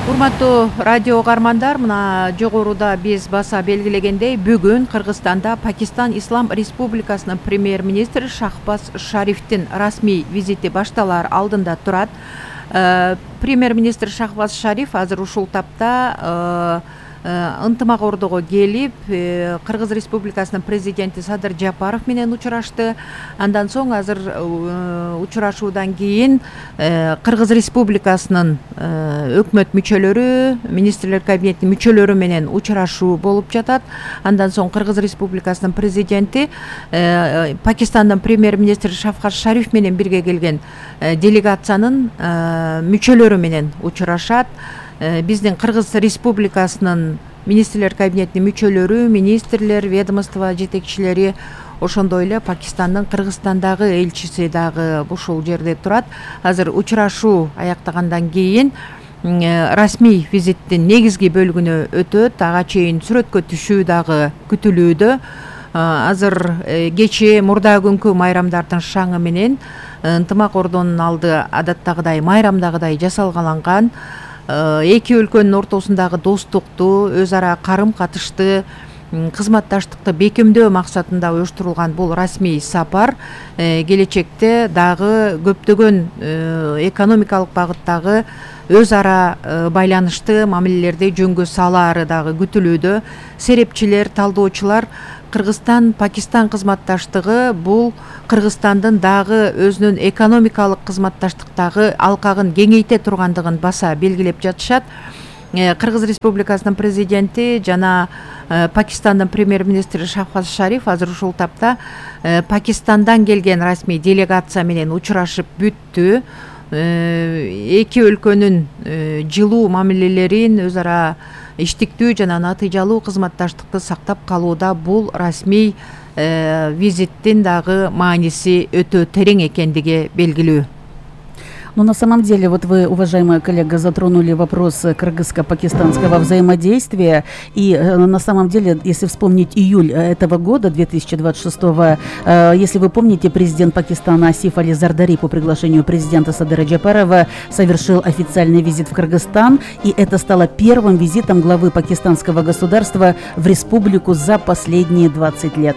Урматтуу радио угармандар, мына жогоруда биз баса белгилегендей, бүгүн Кыргызстанда Пакистан Ислам Республикасынын премьер-министри Шахбаз Шарифтин расмий визити башталар алдында турат. Премьер-министр Шахбаз Шариф азыр ушул тапта ынтымак ордого келип, Кыргыз Республикасынын президенти Садыр Жапаров менен учурашты. Андан соң азыр учурашуудан кийин Кыргыз Республикасынын өкмөт мүчөлөрү, министрлер кабинетинин мүчөлөрү менен учурашуу болуп жатат. Андан соң Кыргыз Республикасынын президенти Пакистандын премьер-министри Шахбаз Шариф менен бирге келген делегациянын мүчөлөрү менен учурашат. Биздин Кыргыз Республикасынын министрлер кабинетинин мүчөлөрү, министрлер, ведомство жетекчилери, ошондой эле Пакистандын Кыргызстандагы элчиси дагы ушул жерде турат. Азыр учурашуу аяктагандан кийин расмий визиттин негизги бөлүгүнө өтөт. Ага чейин сүрөткө түшүү дагы күтүлүүдө. Азыр кечээ мурда күнкү майрамдардын шаңы менен ынтымак ордонун алды адаттагыдай майрамдагыдай жасалгаланган. Эки өлкөнүн ортосундагы достукту, өз ара карым-катышты, кызматташтыкты бекемдөө максатында уюштурулган бул расмий сапар келечекте дагы көптөгөн экономикалык багыттагы өз ара байланышты мамилелерди жөнгө салаары дагы күтүлүүдө. Серепчилер, талдоочулар Кыргызстан-Пакистан кызматташтыгы бул Кыргызстандын дагы өзүнүн экономикалык кызматташтыктагы алкагын кеңейте тургандыгын баса белгилеп жатышат. Кыргыз Республикасынын президенти жана Пакистандын премьер-министри Шахбаз Шариф азыр ушул тапта Пакистандан келген расмий делегация менен учурашып бүттү. Эки өлкөнүн жылуу мамилелерин, өз ара иштиктүү жана натыйжалуу кызматташтыкты сактап калууда бул расмий визиттин дагы мааниси өтө терең экендиги белгилүү. Но на самом деле, вот вы, уважаемая коллега, затронули вопрос кыргызско-пакистанского взаимодействия. И на самом деле, если вспомнить июль этого года, 2026, если вы помните, президент Пакистана Асиф Али Зардари по приглашению президента Садыра Джапарова совершил официальный визит в Кыргызстан. И это стало первым визитом главы пакистанского государства в республику за последние 20 лет.